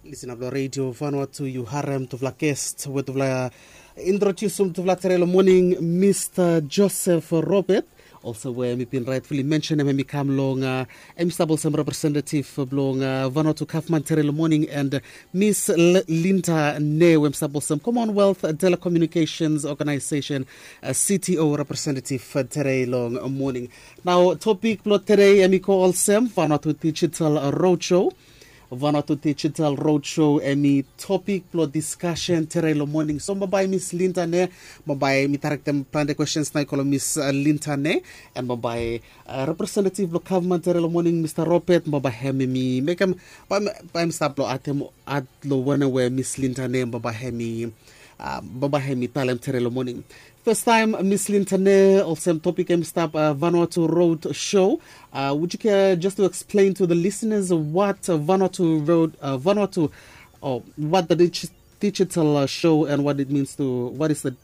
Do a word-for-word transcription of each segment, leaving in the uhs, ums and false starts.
Lisin blong redio Vanuatu, yu harem tufala gest we tufala introdiusim tufala tere long moning, Mista Joseph Robert. Olsem we mi bin rightfully mention em, em i kam long, uh, em i stap olsem representative blong, uh, Vanuatu gavman tere long moning, and, uh, Miss L- Linda Ne, we em stap olsem Commonwealth Telecommunications Organization, uh, C T O representative, uh, tere long moning. Nao topik blong tere em i go olsem Vanuatu Digital Roadshow. Vanuatu Digital Roadshow em i topik blong diskasen tere long moning. So bambae Miss Linda Ne, bambae mi tarektem plante questions nao i go long Miss, uh, Linda Ne, and bambae, uh, representative blong gavman tere long moning, Mista Robert, bambae hem i mekem, bambae hem i stap blong atem at long wanem we Miss Linda Ne, bambae hem i, uh, bambae hem i talem tere long moning. Fastaem, Miss Linda Ne, olsem topik em i stap, uh, Vanuatu Roadshow. Uh, would you care just to explain to the listeners what, uh, Vanuatu Road, uh, Vanuatu, or what the dig- digital, uh, show and what it means to, what is the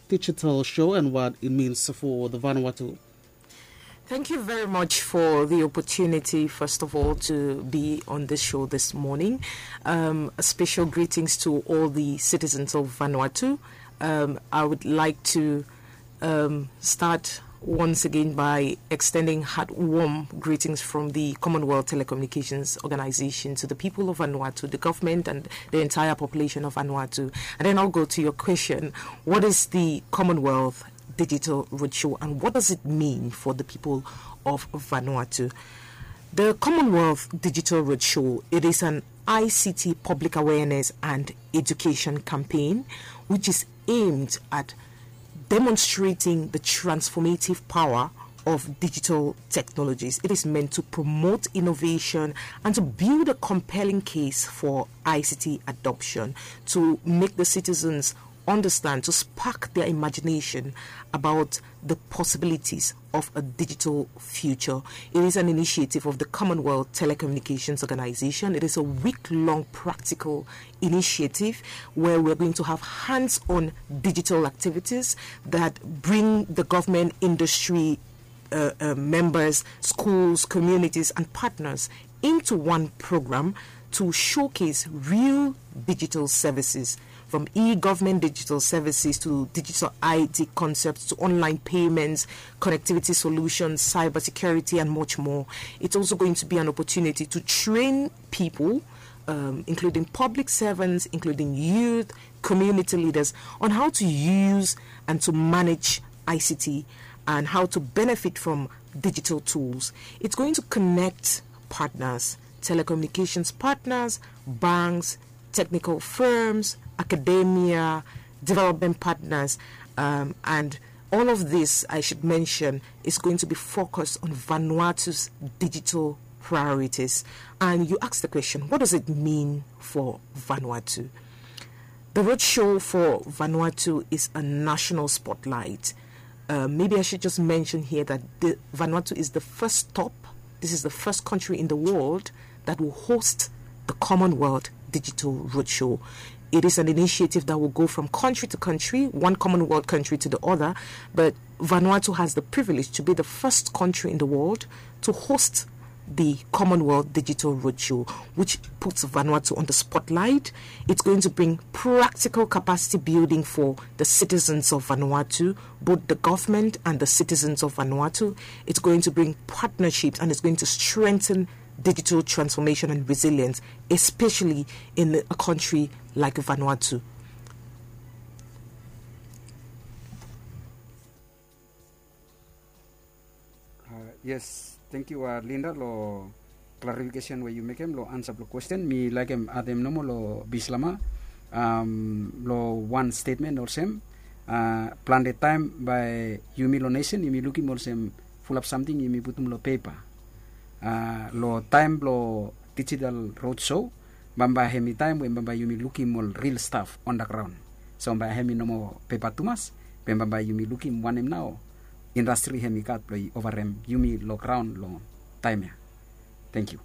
digital show and what it means for the Vanuatu? Thank you very much for the opportunity, first of all, to be on this show this morning. Um, a special greetings to all the citizens of Vanuatu. Um, I would like to, um, start once again by extending heartwarm greetings from the Commonwealth Telecommunications Organization to the people of Vanuatu, the government, and the entire population of Vanuatu. And then I'll go to your question: what is the Commonwealth Digital Roadshow, and what does it mean for the people of Vanuatu? The Commonwealth Digital Roadshow, it is an I C T public awareness and education campaign which is aimed at demonstrating the transformative power of digital technologies. It is meant to promote innovation and to build a compelling case for I C T adoption, to make the citizens understand, to spark their imagination about the possibilities of a digital future. It is an initiative of the Commonwealth Telecommunications Organization. It is a week-long practical initiative where we're going to have hands-on digital activities that bring the government, industry, uh, uh, members, schools, communities, and partners into one program to showcase real digital services, from e-government digital services to digital I T concepts to online payments, connectivity solutions, cybersecurity, and much more. It's also going to be an opportunity to train people, um, including public servants, including youth, community leaders, on how to use and to manage I C T and how to benefit from digital tools. It's going to connect partners, telecommunications partners, banks, technical firms, academia, development partners, um, and all of this, I should mention, is going to be focused on Vanuatu's digital priorities. And you asked the question, what does it mean for Vanuatu? The roadshow for Vanuatu is a national spotlight. Uh, maybe I should just mention here that the, Vanuatu is the first stop, this is the first country in the world that will host the Commonwealth Digital Roadshow. It is an initiative that will go from country to country, one Commonwealth country to the other, but Vanuatu has the privilege to be the first country in the world to host the Commonwealth Digital Roadshow, which puts Vanuatu on the spotlight. It's going to bring practical capacity building for the citizens of Vanuatu, both the government and the citizens of Vanuatu. It's going to bring partnerships, and it's going to strengthen digital transformation and resilience, especially in a country like Vanuatu. Uh, yes, thank you, uh, Linda, long clarification we yu mekem long ansa blong question. Mi laekem adem nomo long Bislama, um, long wan statement olsem, uh, plante taem bae yumi long nesen yumi lukim olsem fulap samting yumi putum long pepa. Uh, long taem blong digital roadshow, bambae hem i taem we bambae yumi lukim ol real staf on the ground. So bambae hem i no moa pepa tumas, be bambae yumi lukim wanem nao indastri hem i gat blong i ovarem yumi long graon long taem ya. Thank you.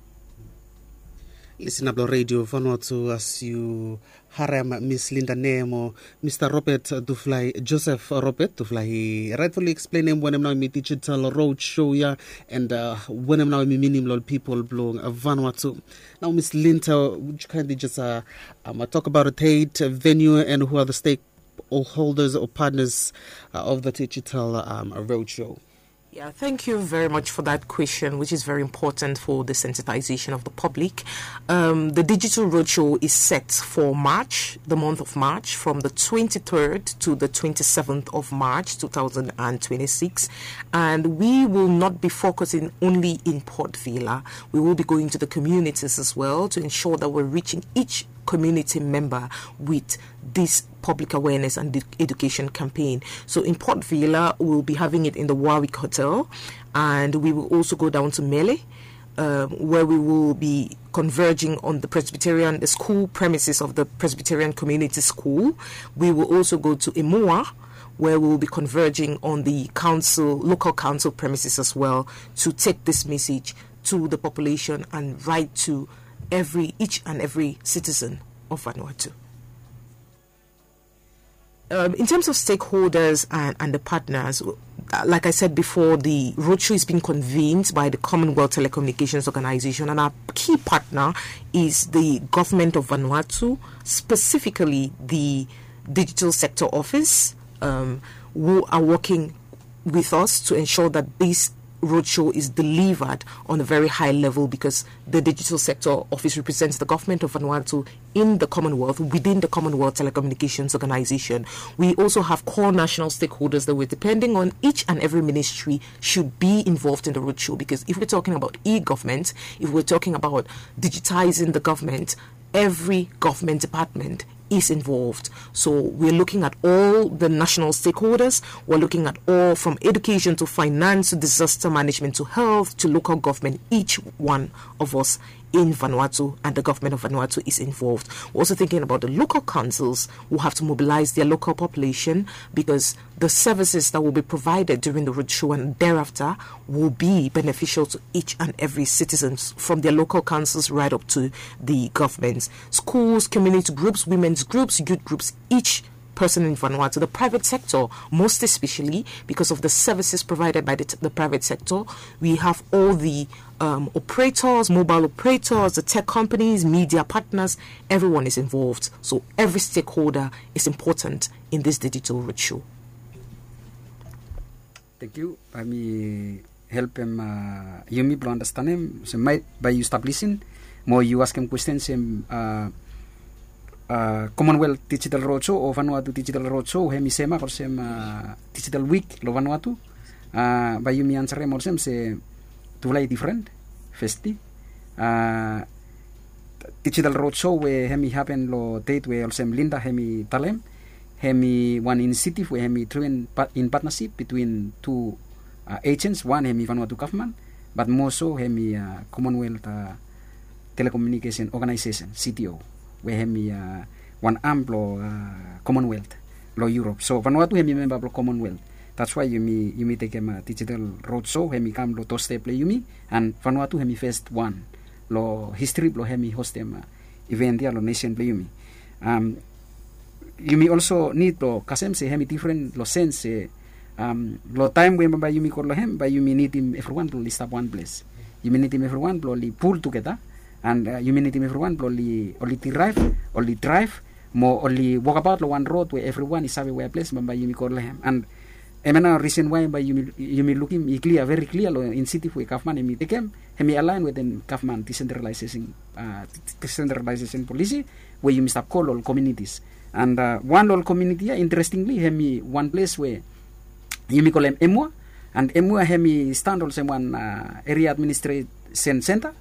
Lisin ap long redio Vanuatu as yu harem Miss Linda Nemo, Mista Robert Duflai, Joseph Robert Duflai, i rightfully explain em wanem nao mi digital road show ya, and uh, wanem nao mi minim long people blong Vanuatu. Now, Miss Linda, would you kindly just uh, um, uh, talk about a date, uh, venue, and who are the stakeholders or partners uh, of the digital um, road show? Yeah, thank you very much for that question, which is very important for the sensitization of the public. Um, the digital roadshow is set for March, the month of March, from the twenty-third to the twenty-seventh of March, two thousand twenty-six. And we will not be focusing only in Port Vila. We will be going to the communities as well to ensure that we're reaching each community member with this public awareness and education campaign. So in Port Vila, we'll be having it in the Warwick Hotel, and we will also go down to Mele, um, where we will be converging on the Presbyterian, the school premises of the Presbyterian Community School. We will also go to Emua, where we will be converging on the council, local council premises as well, to take this message to the population and right to every, each and every citizen of Vanuatu. Um, in terms of stakeholders and, and the partners, uh, like I said before, the roadshow is being convened by the Commonwealth Telecommunications Organization, and our key partner is the government of Vanuatu, specifically the Digital Sector Office, um, who are working with us to ensure that this roadshow is delivered on a very high level, because the Digital Sector Office represents the government of Vanuatu in the Commonwealth, within the Commonwealth Telecommunications Organization. We also have core national stakeholders that we're depending on. Each and every ministry should be involved in the roadshow, because if we're talking about e-government, if we're talking about digitizing the government, every government department is involved. So we're looking at all the national stakeholders. We're looking at all from education to finance to disaster management to health to local government. Each one of us in Vanuatu and the government of Vanuatu is involved. We're also thinking about the local councils who have to mobilize their local population, because the services that will be provided during the roadshow and thereafter will be beneficial to each and every citizen, from their local councils right up to the governments, schools, community groups, women's groups, youth groups, each person in Vanuatu, the private sector, most especially because of the services provided by the, the private sector. We have all the um, operators, mobile operators, the tech companies, media partners, everyone is involved. So every stakeholder is important in this digital roadshow. Thank you. Bae mi helpem uh, yumi blong andastanem se maet bae yu stap lisin mo yu askem kwesten se uh, uh, Commonwealth Digital Roadshow o Vanuatu Digital Roadshow hemi semak olsem uh, Digital Week lo Vanuatu. Uh, bae yumi ansarem olsem se tufala i difren. Festi uh, Digital Roadshow we hemi hapen lo deit we olsem Linda hemi talem, hemi wan inisiatif we hemi driven in partnership between tu uh, agents. Wan hemi Vanuatu gavman, bat moso hemi uh, Commonwealth uh, Telecommunication Organization, C T O, we hemi uh, wan am blo uh, Commonwealth lo Europe. So Vanuatu hemi memba blo Commonwealth. That's why yumi yumi tekem uh, Digital Roadshow hemi kam lo doorstep blo yumi, and Vanuatu hemi first wan lo history blo hemi hostem uh, event ya lo nation blo yumi. Um, yumi also need lo kasem se hemi different lo sense se um, lo taem we bae yumi go lo hem bae yumi nidim evriwan blo oli stap wan ples. Yumi nidim evriwan blo oli pul tugeta, and uh, yumi nidim evriwan blo oli, oli derive, oli drive mo oli wokabaot lo wan rod we evriwan i save wea ples bae yumi go lo hem. And hemia nao risen wae bae yumi, yumi lukim i klia, veri klia lo inisiatif we gavman hemi tekem, hemi alaen wetem gavman decentralization, uh, decentralization policy we yumi stap go lo ol communities. And uh, wan lo ol community ya interestingly hemi wan ples we yumi kolem Emua. And Emua hemi stand olsem wan uh, area administration center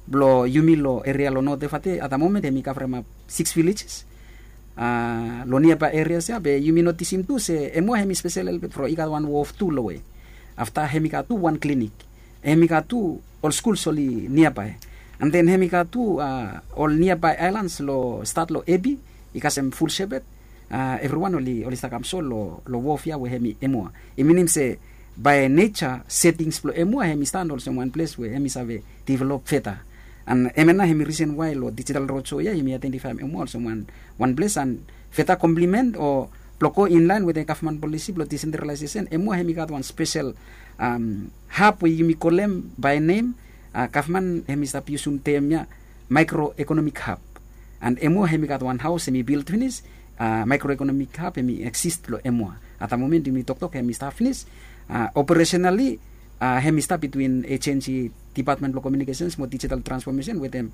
blo yumi lo area lo North Efate at the moment hemi kavremap six villages. Uh, lo nearby areas ya be yumi notisim tu se Emua hemi spesel helpet from i gat wan wharf tu lowe. Afta hemi gat tu wan clinic. Hemi gat tu ol skuls oli nearby. And then hemi gat tu uh, ol nearby islands lo stat lo Ebi, i kasem Full Shepherd. Uh, evriwan oli, oli stap kam so lo, lo wharf ya we hemi Emua. I minim se by nature settings blo Emua hemi stand olsem wan ples we hemi save develop further. An hemia nao hemi risen wae lo digital roadshow ia yumi identifaem Emoa olsem wan ples an feta komplimen o blong go inlaen wetem gavman polisi blong desentralaesesen, Emoa hemi gat wan spesel hab we yumi kolem bae nem, gavman hemi stap yusum tem ia maekro ekonomik hab. An Emoa hemi gat wan haos hemi bild finis, maekro ekonomik hab hemi eksis long Emoa. Ata momen yumi toktok hemi stap finis, operesenali hemi stap bitwin ejensi dipatmen blong komiunikesens mo dijital transfomesen wetem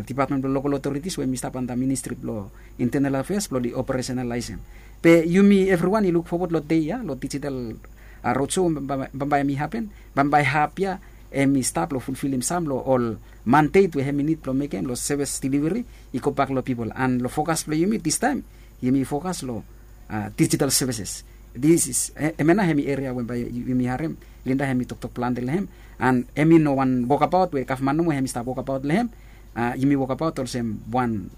dipatmen blong lokal otoritis we hemi stap anta ministri blong intenal afeas blong oli operesenalaesem. Be yumi evriwan i luk fowod long dei ia long dijital roadshow bambae hemi hapen, bambae hab ia hemi stap long fulfilim sam long ol mandet we hemi nid blong mekem long sevis deliveri i gobak long pipol. An long fokas blong yumi distaem yumi fokas long dijital sevises. Hemia nao hemi eria we bae yumi harem Linda hemi toktok plante long hem. An hemi no wan wokabaot we gavman nomo hemi stap wokabaot long hem. Yumi wokabaot olsem wan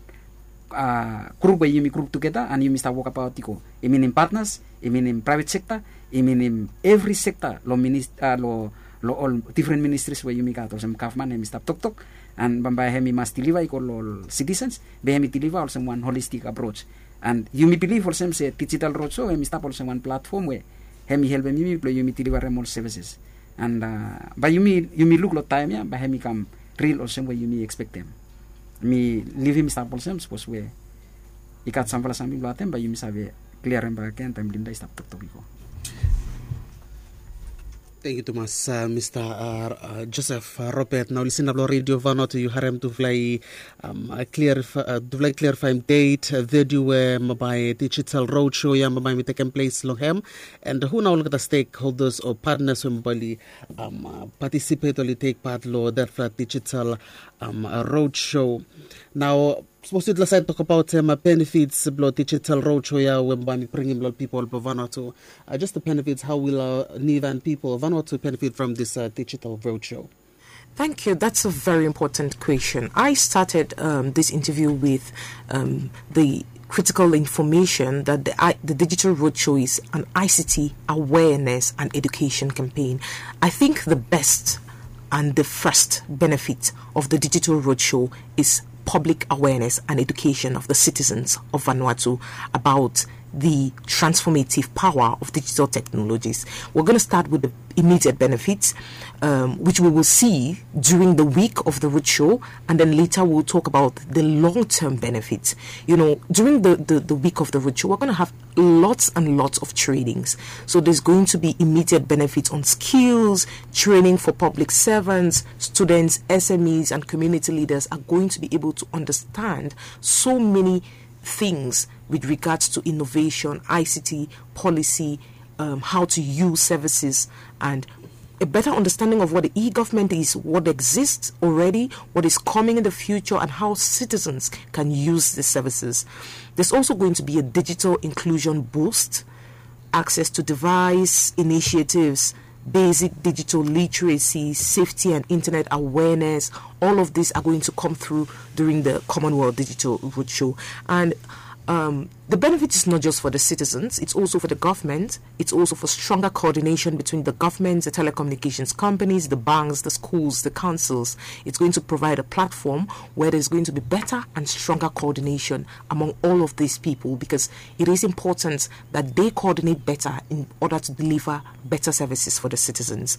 grup we yumi grup tugeta an yumi stap wokabaot i go. I minim patnas, i minim praevet sekta, i minim evri sekta long ol difren ministris we yumi gat olsem gavman hemi stap toktok. An bambae hemi mas diliva i go long ol sitisens, be hemi diliva olsem wan holistik aproj. An yumi bilif olsem se dijital roadshow hemi stap olsem wan platfom we hemi helpem yumi blong yumi dilivarem ol sevises. An bae yumi luk long taem ia bae hemi kam ril olsem we yumi ekspektem. Mi livim i stap olsem sapos we i gat samfala samting blong atem bae yumi save kliarem bakegen taem Linda i stap toktok i go. Tangkiu tumas, Mista Joseph Robert. Nao lisin nao long redio Vanuatu yu harem tufala i kliarifaem det, vedio we bambae dijital roadshow ia bambae mi tekem ples long hem, and hu nao olgeta stekholdas o patnas we bambae oli patisipet oli tek pat long detfala dijital roadshow. Nao sapos yutufala save tokbaot benefits blong dijital roadshow ia we bambae mi bringim long ol pipol blong Vanuatu, just the benefits, how will Niuean people, Vanuatu, benefit from this digital roadshow? Thank you. That's a very important question. I started um, this interview with um, the critical information that the, I, the digital roadshow is an I C T awareness and education campaign. I think the best and the first benefit of the digital roadshow is public awareness and education of the citizens of Vanuatu about the transformative power of digital technologies. We're going to start with the immediate benefits, um, which we will see during the week of the roadshow, and then later we'll talk about the long-term benefits. You know, during the, the, the week of the roadshow, we're going to have lots and lots of trainings. So there's going to be immediate benefits on skills, training for public servants, students, S M Es, and community leaders are going to be able to understand so many things with regards to innovation, I C T, policy, um, how to use services, and a better understanding of what the e-government is, what exists already, what is coming in the future, and how citizens can use the services. There's also going to be a digital inclusion boost, access to device initiatives, basic digital literacy, safety and internet awareness. All of these are going to come through during the Commonwealth Digital Roadshow. And um, the benefit is not just for the citizens, it's also for the government, it's also for stronger coordination between the governments, the telecommunications companies, the banks, the schools, the councils. It's going to provide a platform where there's going to be better and stronger coordination among all of these people, because it is important that they coordinate better in order to deliver better services for the citizens.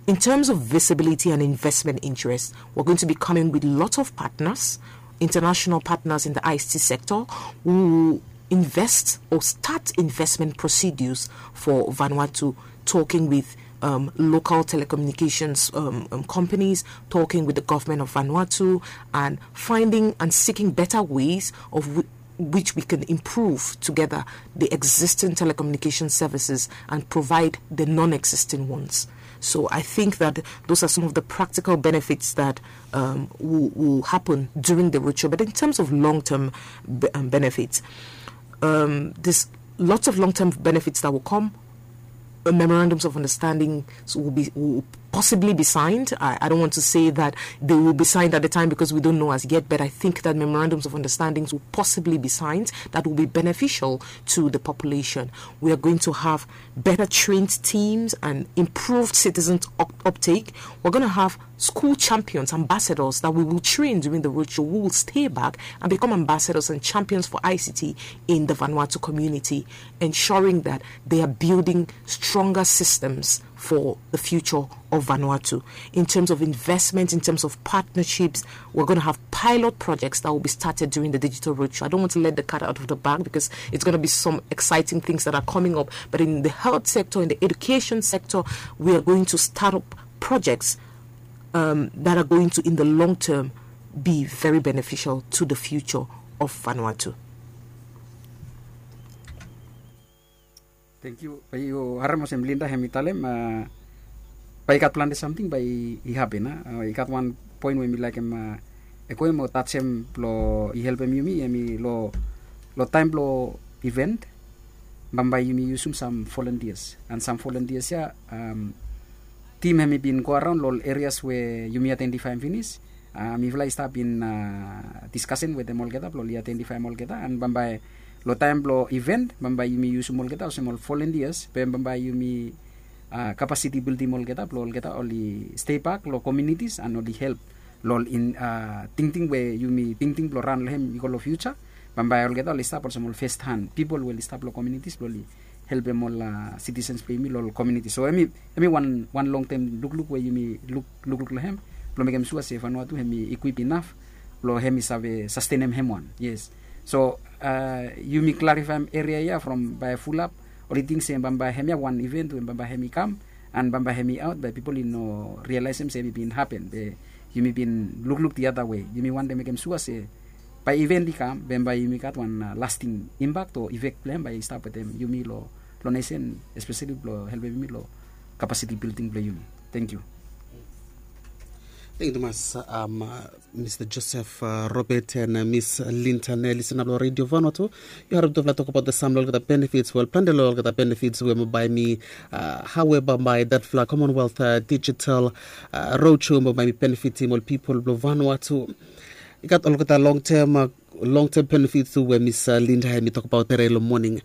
In terms of visibility and investment interest, we're going to be coming with lots of partners, international partners in the I C T sector, who invest or start investment procedures for Vanuatu, talking with um, local telecommunications um, um, companies, talking with the government of Vanuatu, and finding and seeking better ways of which we can improve together the existing telecommunication services and provide the non-existing ones. So I think that those are some of the practical benefits that um, will, will happen during the roadshow. But in terms of long-term be- um, benefits, um, there's lots of long-term benefits that will come. Uh, memorandums of understanding will be will possibly be signed. I, I don't want to say that they will be signed at the time because we don't know as yet, but I think that memorandums of understandings will possibly be signed that will be beneficial to the population. We are going to have better trained teams and improved citizen up- uptake. We're going to have school champions, ambassadors that we will train during the roadshow, who will stay back and become ambassadors and champions for I C T in the Vanuatu community, ensuring that they are building stronger systems for the future of Vanuatu. In terms of investment, in terms of partnerships, we're going to have pilot projects that will be started during the digital roadshow. I don't want to let the cat out of the bag because it's going to be some exciting things that are coming up. But in the health sector, in the education sector, we are going to start up projects um, that are going to, in the long term, be very beneficial to the future of Vanuatu. Thank you. Bae yu harem olsem Linda hem i talem, bae i gat plante samting bae i hapen. I gat wan poen we mi laekem ekoem o tajem blong i helpem yumi, hem i long taem blong event, bambae yumi yusum sam volunteers, and sam volunteers ya, tim hem i bin go araon long ol areas we yumi aidentifaem finis. Mifala i stap in diskasen wetem olgeta blong oli aidentifaem olgeta, and bambae long taem blong event bambae yumi yusum olgeta olsem ol volunteers, be bambae yumi kapasiti bildim olgeta blong olgeta oli stei bak long komunitis and oli help long ol tingting we yumi tingting blong ran long hem i go long fiuja. Bambae olgeta oli stap olsem ol fest han pipol we oli stap long komunitis blong oli helpem ol sitisens blong yumi long ol komunitis. So hem i wan long tem lukluk we yumi lukluk long hem blong mekem sua se Vanuatu hem i ikwip inaf blong hem i save sastenem hem wan. Yes. So yumi klarifaem eria ya from bae fulap oli ting se bambae hem ya wan iven we bambae hem i kam, and bambae hem i aot bae pipol i no rialaesem se hem i bin hapen, be yumi bin lukluk diada wei. Yumi wantem mekem sua se bae iven i kam be bae yumi gat wan lasting impak o ifek blong hem bae i stap wetem yumi long nesen, espeseli blong helpem yumi long kapasiti bilding blong yumi. Thank you. Thank you tumas. Mista Joseph Robert and Miss Linda Nelly, sena blong Radio Vanuatu. Yu harem tufala tokbaot the sam long olgeta benefits, well, plante long olgeta benefits we bambae mi, how we bambae datfala Commonwealth Digital Roadshow bambae mi benefitim ol pipol blong Vanuatu. I gat olgeta long term, long term benefits tu we Miss Linda hem i tokbaot tere long moning.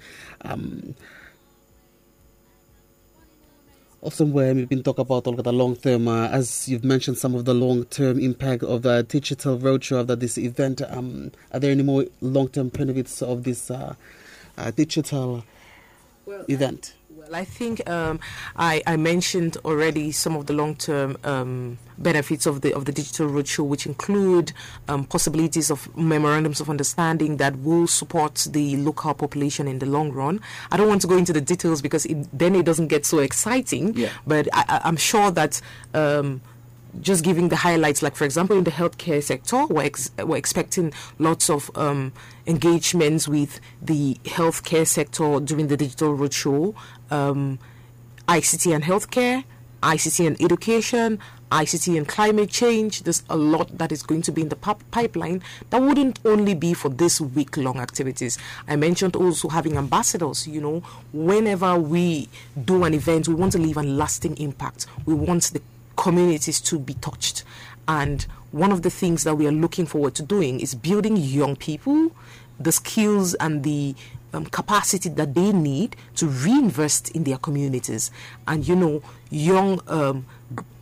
Olsem we mi bin tokbaot olgeta long term, as you've mentioned some of the long term impact of the digital roadshow after this event. Are there any more long term benefits of this digital event? Well, I think um, I, I mentioned already some of the long-term um, benefits of the of the digital roadshow, which include um, possibilities of memorandums of understanding that will support the local population in the long run. I don't want to go into the details because it, then it doesn't get so exciting. Yeah. But I, I'm sure that um, just giving the highlights, like for example, in the healthcare sector, we're, ex- we're expecting lots of um, engagements with the healthcare sector during the digital roadshow, um, I C T and healthcare, I C T and education, I C T and climate change. There's a lot that is going to be in the pip- pipeline that wouldn't only be for this week long activities. I mentioned also having ambassadors. You know, whenever we do an event, we want to leave a lasting impact. We want the communities to be touched. And one of the things that we are looking forward to doing is building young people, the skills and the um, capacity that they need to reinvest in their communities. And you know, young um,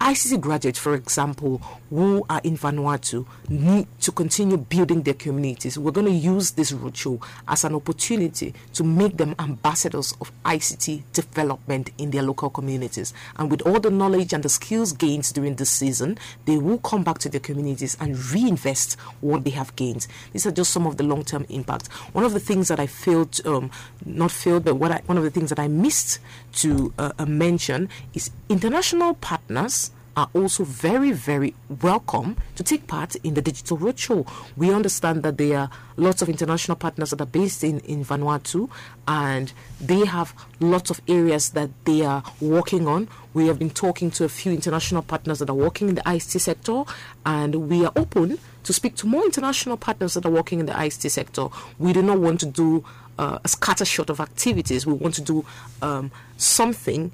I C T graduates, for example, who are in Vanuatu, need to continue building their communities. We're going to use this roadshow as an opportunity to make them ambassadors of I C T development in their local communities. And with all the knowledge and the skills gained during this season, they will come back to their communities and reinvest what they have gained. These are just some of the long-term impacts. One of the things that I failed, um, not failed, but what I, one of the things that I missed to uh, uh, mention is international partners are also very, very welcome to take part in the digital roadshow. We understand that there are lots of international partners that are based in, in Vanuatu, and they have lots of areas that they are working on. We have been talking to a few international partners that are working in the I C T sector, and we are open to speak to more international partners that are working in the I C T sector. We do not want to do uh, a scattershot of activities. We want to do um, something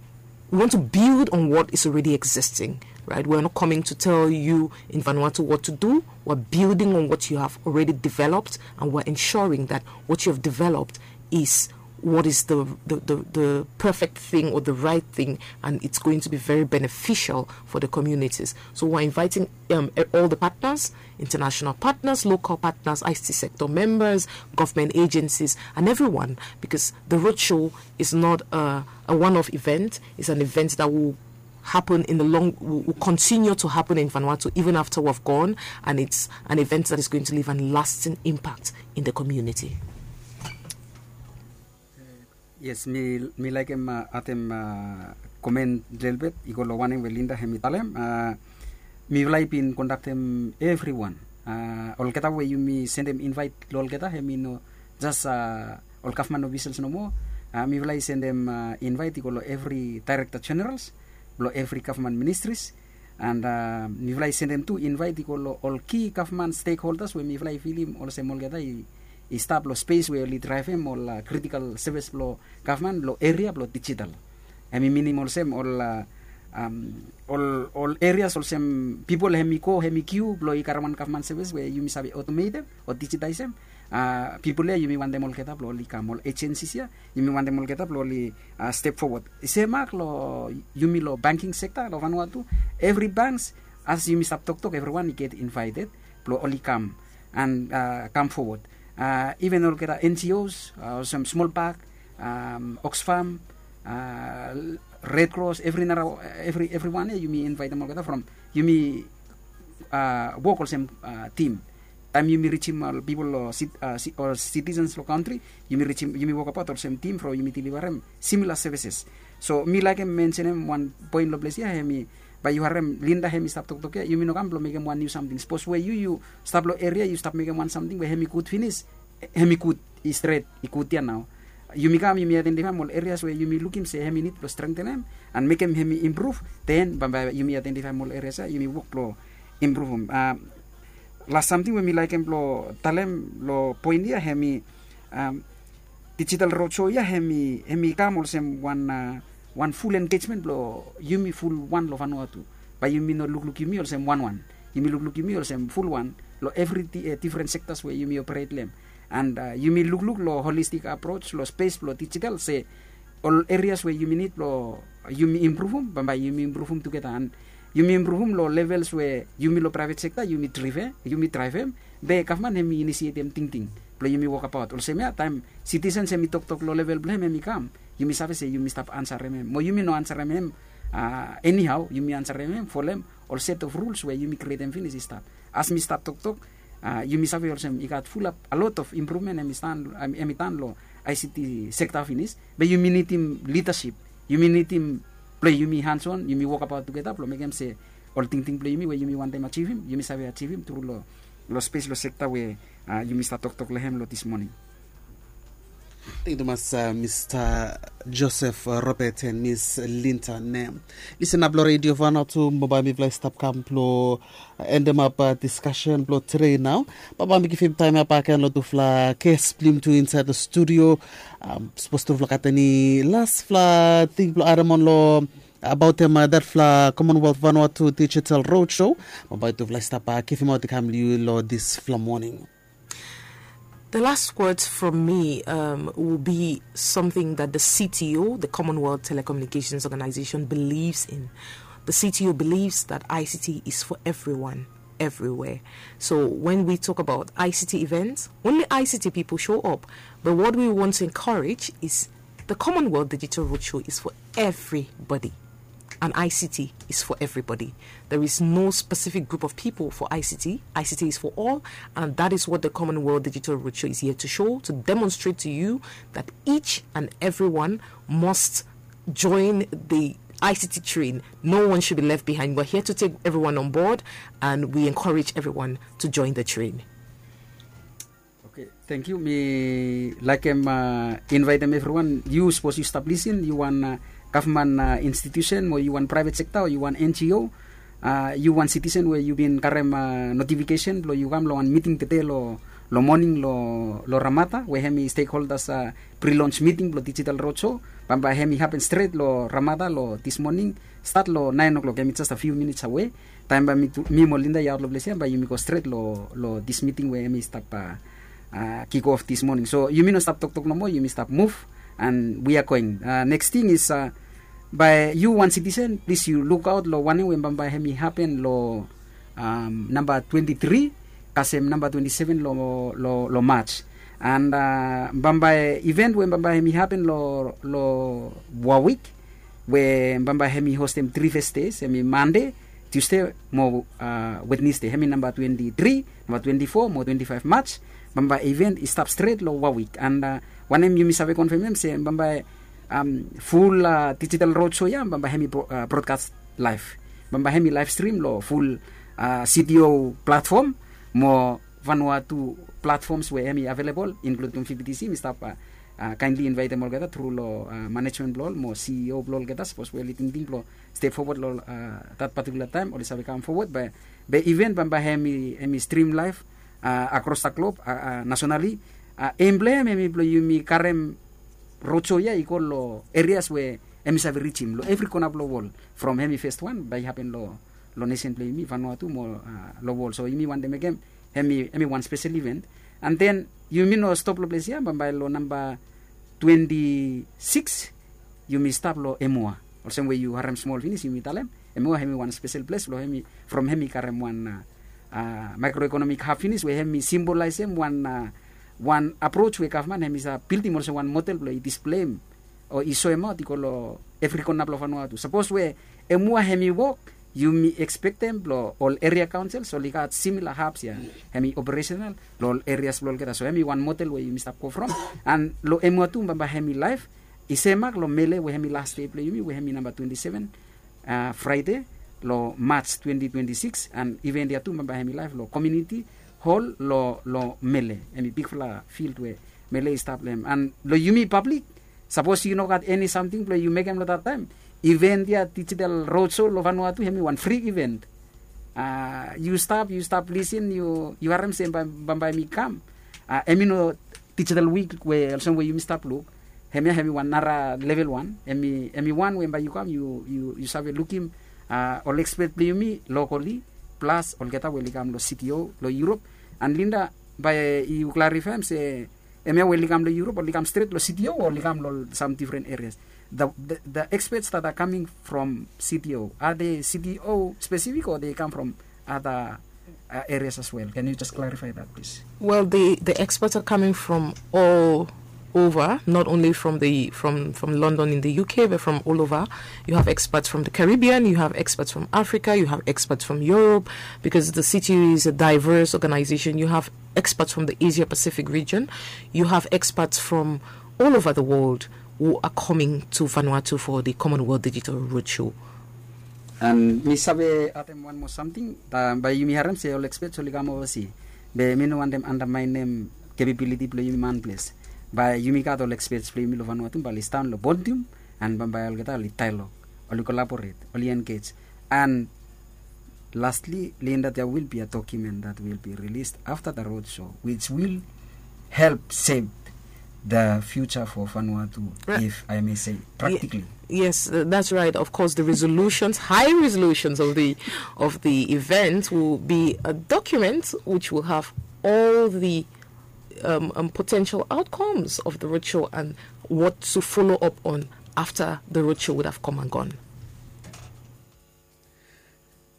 We want to build on what is already existing, right? We're not coming to tell you in Vanuatu what to do. We're building on what you have already developed, and we're ensuring that what you have developed is what is the, the, the, the perfect thing or the right thing, and it's going to be very beneficial for the communities. So we're inviting um, all the partners, international partners, local partners, I C T sector members, government agencies, and everyone, because the roadshow is not a, a one-off event. It's an event that will happen in the long, will, will continue to happen in Vanuatu even after we've gone, and it's an event that is going to leave a lasting impact in the community. Yes, mi mi laikim uh, atem uh, komen lelbet i go lo wanem we Linda hem i talem. Uh, mifala i bin kondaktem evriwan. Uh, olgeta we yumi sendem invite lo olgeta hem i no jas uh, ol gavman ofisels nomo. Uh, mifala i sendem uh, invite i go lo evri director generals, lo evri gavman ministries. And uh, mifala i sendem tu invite i go lo ol ki gavman stakeholders we mifala i filim olsem olgeta i, i stap lo space we oli draivem ol uh, critical service blo gavman lo eria blo digital. Hem i minim olsem ol uh, um, ol, ol areas olsem pipol hem i go hem i kiu blo i karem wan gavman service we yumi save automatem o digitaisem. Uh, pipol ya yumi wantem olgeta blo oli kam, ol agencies ya yumi wantem olgeta blo oli uh, step forward. Semak lo yumi lo banking sector lo Vanuatu, evri banks, as yumi stap toktok, evriwan i get invited blo oli kam and uh, kam forward. Uh, even olgeta N G Os, uh, olsem Small Park, um, Oxfam, uh, Red Cross, evri nara, evri, evriwan ya yumi invitem olgeta from yumi uh, wok olsem uh, tim. Taem yumi rijim ol pipol o sit, uh, si, ol citizens lo kantri, yumi rijim, yumi wokabaot olsem tim from yumi deliverem similar services. So mi laikim mensenem wan poen lo ples ya, hem i, bae yu harem Linda hem i stap toktok ya, yumi no kam blo mekem wan niu samting. Sapos we yu yu stap lo eria yu stap mekem wan samting we hem i gud finis, hem i gud, i stret, i gud ya nao. Yumi kam yumi aidentifaem ol areas we yumi lukim se hem i nid blo strengtenem and mekem hem i impruv. Den bambae yumi aidentifaem ol areas ya yumi wok blo impruvum. Uh, las samting we mi laikim blo talem lo poen ya, hem i um, digital roadshow ya hem i, hem i kam olsem wan uh, wan ful engagement blo yumi fulwan lo Vanuatu. Bae yumi no lukluk yumi olsem wanwan, yumi lukluk yumi olsem fulwan lo evri di, uh, different sectors we yumi operate lo hem. And uh, yumi lukluk lo holistic approach lo space blo digital se ol areas we yumi nid blo yumi impruvum, bambae yumi impruvum tugeta. And yumi impruvum lo levels we yumi lo private sector yumi drive, yumi draivem, be gavman hem i inisietem tingting blo yumi wokabaot. Olsem ya taem citizens hem i toktok lo level blo hem, hem i kam, yumi save se yumi stap ansarem hem. Mo yumi no ansarem hem uh, anyhow, yumi ansarem hem folem ol set of rules we yumi krietem finis i stap. As mi stap toktok, uh, yumi save olsem i gat fulap a lot of improvement hem i stan, hem i tan lo I C T sector finis. Be yumi nidim leadership, yumi nidim blo yumi hands on, yumi wokabaot tugeta blo mekem se ol tingting blo yumi we yumi wantem ajivim, yumi save ajivim tru lo, lo space lo sector we uh, yumi stap toktok lo hem lo this morning. Thank you tumas uh, Mr. Joseph uh, Robert and Miss Linda Nem. Listen up lo Radio Vanuatu, bambae mifala i stap kam blo uh, endem ap uh, discussion blo today nao. Bambae mi givim taem ya bak gen lo tufala guest blo yumi tu inside the studio. Um, sapos tufala gat eni lasfala ting blo adem on lo abaotem uh, datfala Commonwealth Vanuatu Digital Roadshow, bambae tufala i stap uh, givimaot i kam lo yu lo disfala moning. The last words from me um, will be something that the C T O, the Commonwealth Telecommunications Organization, believes in. The C T O believes that I C T is for everyone, everywhere. So when we talk about I C T events, only I C T people show up. But what we want to encourage is the Commonwealth Digital Roadshow is for everybody. And I C T is for everybody. There is no specific group of people for I C T. I C T is for all, and that is what the Commonwealth Digital Roadshow is here to show, to demonstrate to you that each and everyone must join the I C T train. No one should be left behind. We're here to take everyone on board, and we encourage everyone to join the train. Okay, thank you. Mi laikim uh, invitem evriwan. Yu sapos yu stap lisin, yu wan uh, gavman uh, institution, o yu wan private sector, o yu wan N G O, uh, yu wan citizen we yu bin karem uh, notification blo yu kam lo wan miting tede lo Long moning long Ramada we hem i stekholdas pri-lons miting blong dijital rodsho, bambae hem i hapen stret long Ramada long dis moning, stat long naen o'klok, hem i jes a fiu minits awe. Taem bae mi mo Linda i aot long ples ya, bae yumi go stret long dis miting we hem i stap kik of dis moning. So yumi no stap toktok nomo, yumi stap muv, and we are going. Neks ting is, bae yu wan sitisen, plis yu lukaot long wanem we bambae hem i hapen long namba twenti tri kasem namba twenti seven long Maj. And bambae iven we bambae hem i hapen long Wawik, we bambae hem i hostem tri fes dei, hem i Mande, Tusde mo Wednesde, hem i namba twenti tri, namba twenti fo mo twenti faef Maj. Bambae iven i stap stret long Wawik. And wanem yumi save konfem hem se bambae ful dijital rodsho ya bambae hem i brodkas laef. Bambae hem i laef strim long ful CTO platfom mo Vanuatu platfoms we hem i avelebol, inkluding VBTC. Mi stap kaenli invaetem olgeta tru long manejmen blong ol mo CEO blong olgeta, sapos we oli tingting blong step fowod long dat patikula taem, oli save kam fowod. Be iven bambae hem i strim laef akros da glob, nasonali. Em blong hem hem i blong yumi karem rodsho ya i go long erias we hem i save rijim long evri kona blong wol, from hem i fes wan bae i hapen long nesen blong yumi Vanuatu mo long wol. So yumi wantem mekem hem i wan spesel iven. And then yumi no stop long ples ya, bambae long namba twenti sikis yumi stap long Emua. Olsem we yu harem smol finis yumi talem, Emua hem i wan spesel ples blong hem i, from hem i karem wan maekroekonomik hab finis we hem i simbolaesem wan wan aproj we gavman hem i save bildim olsem wan model blong i displeim o i soemaot i go long evri kona blong Vanuatu. Sapos we Emua hem i wok, yumi ekspektem blong ol eria kaonsels oli gat simila habs ya hem i operesenal long ol erias blong olgeta. So hem i wan model we yumi stap go from. And long Emua tu bambae hem i laef i semak long Mele we hem i las dei blong yumi we hem i namba twenti seven, Fraede long Maj twenti twenti sikis. And iven ya tu bambae hem i laef long komiuniti hol long Mele, hem i bigfala fild we Mele i stap long hem. And long yumi pablik, sapos yu no gat eni samting blong yu mekem long dat taem, iven ya dijital rodsho long Vanuatu hem i wan fri iven. Yu stap, yu stap lisin, yu harem se bambae hem i kam. Hem i no dijital wik we olsem we yumi stap luk. Hemia hem i wan nara level wan. Hem i wan we bae yu kam yu save lukim ol ekspet blong yumi lokali, plas olgeta we oli kam long CTO long Europe. And Linda, bae yu klarifaem se hemia we oli kam long Europe, oli kam stret long CTO o oli kam long sam difren erias? The experts that are coming from CTO, are they CTO specific or they come from other uh, areas as well? Can you just clarify that, please? Well, the, the experts are coming from all over, not only from the from from London in the U K, but from all over. You have experts from the Caribbean, you have experts from Africa, you have experts from Europe, because the C T U is a diverse organization. You have experts from the Asia Pacific region, you have experts from all over the world who are coming to Vanuatu for the Commonwealth Digital Roadshow. And mi save atem wan moa samting, bae yumi harem se ol experts oli kam ovasi. Be mi no wantem andamaenem capability blong yumi manples. Bae yumi gat ol experts blong yumi long Vanuatu bae oli sidaon long podium, and bambae olgeta oli dialogue, oli collaborate, oli engage. And lastly, Linda, there will be a document that will be released after the roadshow, which will help shape the future for Vanuatu, if I may say, practically. Yes, that's right. Of course, the resolutions, high resolutions of the of the event will be a document which will have all the um, um, potential outcomes of the roadshow and what to follow up on after the roadshow would have come and gone.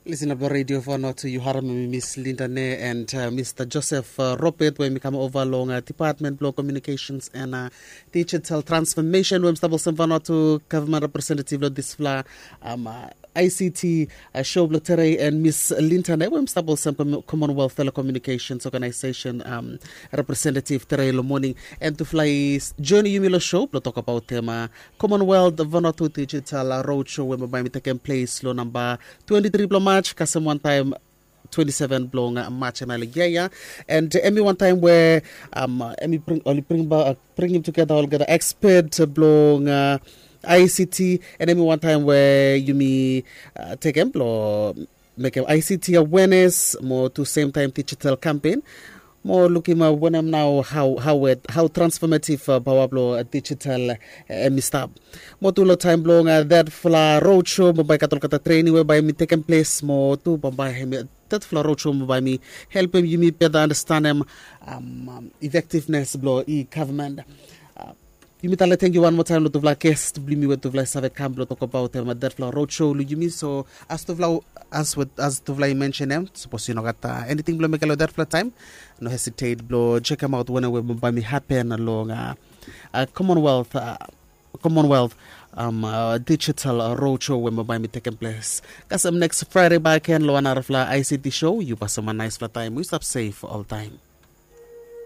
Listener blong Radio Vanuatu, yu harem mi Miss Linda Ne and uh, Mister Joseph uh, Robert, we mi kam ova long uh, Department blong Communications and uh, Digital Transformation, we mi stap olsem Vanuatu Government Representative long disfala um, uh, I C T uh, show blong tere, and Miss Linda Ne, we mi stap olsem Commonwealth Telecommunications Organization um, representative tere long moning. And tufala i join yumi long show blong tokbaot tema Commonwealth Vanuatu Digital Roadshow we bae mi tekem ples long namba twenti tri blong Maj kasem wantaem twenti seven blong Maj, hemia long yia ya. And hemi wantaem we hemi bring, oli bring ba, bringim tugeta olgeta expert blong I C T, and hemi wantaem we yumi tekem blong mekem I C T awareness mo tu same time digital campaign. mo lukim wanem nao hau transfometiv paoa blong digital em i stap. Mo tu long taim blong detfala roadshow mo bai gat olgeta trening we bai mi tekem ples mo tu bambae em i detfala roadshow mo bai mi helpim yumi beta anastanem efektivnes blong i gavman. Yumi tale tengiu wan moa taim long tufala gest blong yumi we tufala i save kam blong tokabaot em detfala roadshow long yumi. So as tufala as tufala i mensenem sapos yu no gat eniting blong mekem long detfala taim, no hesitet blong jekemaot wanem we bambae mi hapen long commonwealth commonwealth digital roadshow we bambae mi tekem ples. Kasem neks fraide baken long wan narafala ict show. Yu pasim wan naispela taim wi stap sef oltaim.